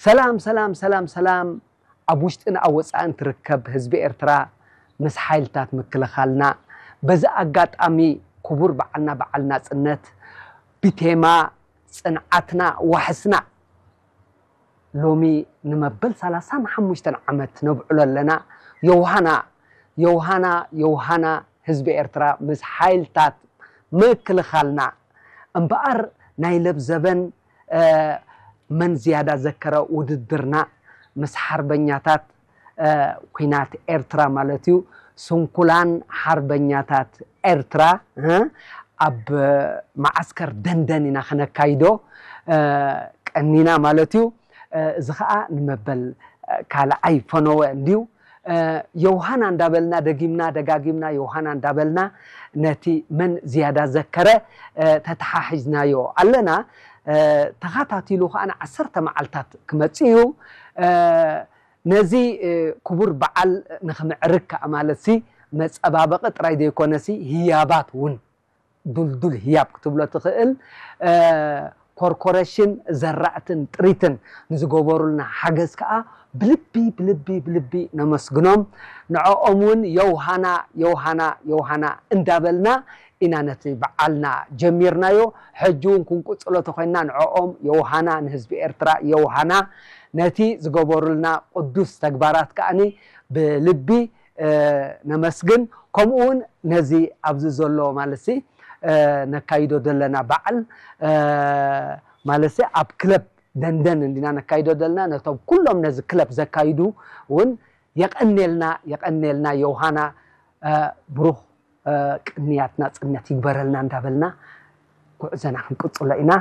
ሰላም ሰላም ሰላም ሰላም። ኣብ ውሽጥን ኣብ ወፃእን ትርከብ ህዝቢ ኤርትራ፣ ምስ ሓይልታት ምክልኻልና፣ በዚ ኣጋጣሚ ክቡር በዓልና በዓል ናፅነት ብቴማ ፅንዓትና ዋሕስና ሎሚ ንመበል ሰላሳን ሓሙሽተን ዓመት ነብዕሎ ኣለና። ዮውሃና ዮውሃና ዮውሃና፣ ህዝቢ ኤርትራ ምስ ሓይልታት ምክልኻልና። እምበኣር ናይ ለብዘበን መን ዝያዳ ዘከረ ውድድርና ምስ ሓርበኛታት ኩናት ኤርትራ ማለት እዩ። ስንኩላን ሓርበኛታት ኤርትራ ኣብ መዓስከር ደንደን ኢና ክነካይዶ ቀኒና ማለት እዩ። እዚ ከዓ ንመበል ካልኣይ ፈነወ እንድዩ። ዮውሃና እንዳበልና ደጊምና ደጋጊምና ዮውሃና እንዳበልና ነቲ መን ዝያዳ ዘከረ ተተሓሒዝናዮ ኣለና። ተኻታቲሉ ከዓ ንዓሰርተ መዓልታት ክመፅእ እዩ። ነዚ ክቡር በዓል ንክምዕርግ ከዓ ማለት ሲ መፀባበቂ ጥራይ ዘይኮነ ሲ ህያባት እውን ዱልዱል ህያብ ክትብሎ ትኽእል። ኮርኮሬሽን ዘራእትን ጥሪትን ንዝገበሩልና ሓገዝ ከዓ ብልቢ ብልቢ ብልቢ ነመስግኖም። ንዕኦም እውን ዮውሃና ዮውሃና ዮውሃና እንዳበልና ኢና ነቲ በዓልና ጀሚርናዮ። ሕጂ እውን ክንቅፅሎ ተኮይንና ንዕኦም ዮውሃና፣ ንህዝቢ ኤርትራ ዮውሃና፣ ነቲ ዝገበሩልና ቅዱስ ተግባራት ከዓኒ ብልቢ ነመስግን። ከምኡ እውን ነዚ ኣብዚ ዘሎ ማለት ነካይዶ ዘለና በዓል ማለት ኣብ ክለብ ደንደን እንዲና ነካይዶ ዘለና፣ ነቶም ኩሎም ነዚ ክለብ ዘካይዱ እውን የቐኔልና የቐኔልና። ዮውሃና ብሩኽ ቅንያት ናፅነት ይግበረልና እንዳበልና ጉዕዞና ክንቅፅሎ ኢና።